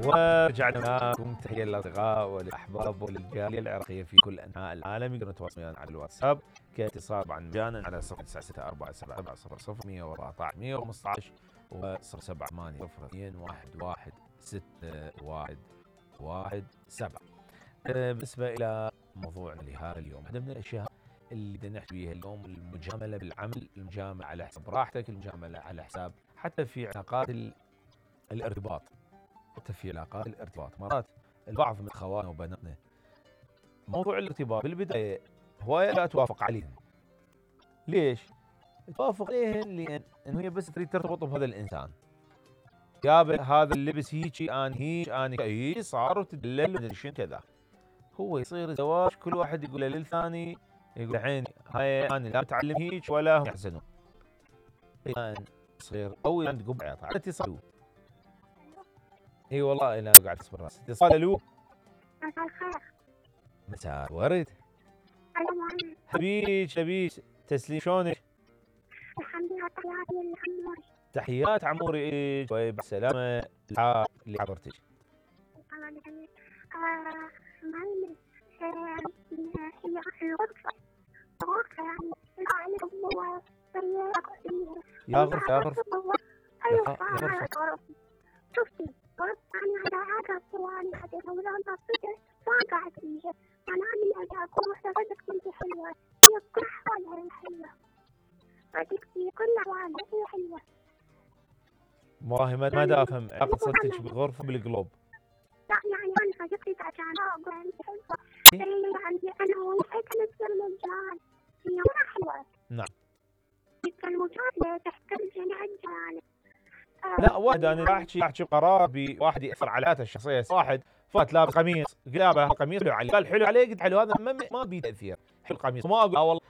ورجعنا لكم. تحيه للاصدقاء والاحباب وللجاليه العراقيه في كل انحاء العالم. يقدرون يتواصلون ويانا على الواتساب كاتصال طبعا مجانا على 0964770014 و0780211617. بالنسبه الى موضوعنا لهذا اليوم، واحده من الاشياء اللي بدنا نحكي بيها اليوم المجامله بالعمل، المجامله على حساب راحتك، المجامله على حساب حتى في علاقات الارتباط. حتى في علاقات الارتباط مرات البعض من اخواننا وبناتنا موضوع الارتباط بالبدايه هوايه لا توافق عليهم. ليش؟ توافق عليهم لان هي بس تريد ترتبط بهذا الانسان. يابا هذا اللبس هيجي، انا هيك، انا هيك، صار وتدلل ومدري شنو كذا. هو يصير زواج كل واحد يقول للثاني، يقول عيني هاي انا لا متعلم هيك ولا هم يحزنون. الان صغير او تقوم بعياط على اتصال. اي والله انا قاعد اصبر راس اتصال. الو مساء الخير. مساء الورد. حبيش تسليم، شلونك؟ الحمد لله. تحياتي لعموري. تحيات عموري. طيب بالسلامة اللي حضرتك. معلم هي الغرفة غرفة يعني يا غرفة أيوة غرفة. شفتي غرفة أنا هذا صواني حديث ولون تصدق ما قاعد فيها. أنا من أجاكم وصدقت كنت حلوة. هي كل أحوالها حلوة. صديقتي كل أحوالها هي حلوة. والله ما دا افهم علاقة صدتك بالغرفة بالقلوب. لا يعني أنا صديقتي عشان أقول أنت حلوة. اللي عندي أنا وهي كانت المجال. هي مرة حلوة. نعم. المجال تحتاج جميع الجوانب. لا واحد انا احكي قرار بواحد ياثر على حياته الشخصيه. واحد فات لابس قميص، قال هذا القميص حلو عليه، قال حلو عليه، قلت حلو هذا ما بي تاثير. حلو القميص، ما اقول والله